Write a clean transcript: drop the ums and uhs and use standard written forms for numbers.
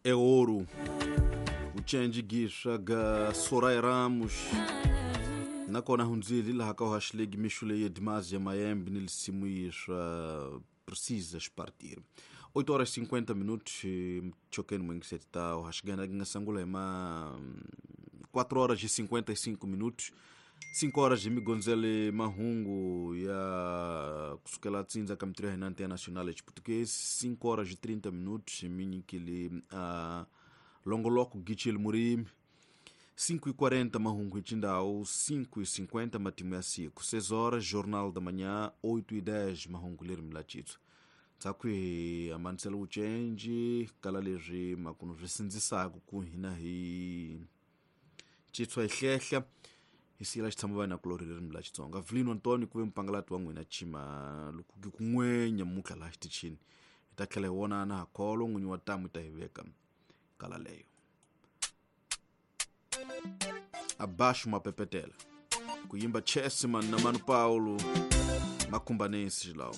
É ouro. Vucenji giswa ga Soraya Ramos. Nakona hundzile laha ka uhashlegi mixo leyi Dimazi ya Mayembe ni lisimu yiswa precisas partir. 8 horas 50 minutos, chokeni mwingiseti ta uhashigana gingasangula ima 4 horas e 55 minutos. 5 horas de migonzele mahungu ya kusukela tsindza ka mitirho ya hina internacional ya português 5 horas e 30 minutos minyikile longoloko gichile murimi 5:40 mahungu hi 5:50 matimu ya siku 6 horas jornal da manhã 8:10 mahungu lerimi la chitsu tsaku hi amanisela vucenji kala leswi makunu swi sindzisaka ku hina hi chitswa hi hlehla hi siyela xitshamo va na kulori ririmi la Xitsonga Vilino Antônio ku ve mpangalati wa n'wina chima loko ki kun'wenya mutla laha xitichini hi ta tlhela hi vonana ha kholo n'winyi wa tamu ta hi veka kala leyo abaixo mapepetela ku yimba Chessman na Mano Paulo makhumbanesi xilawo.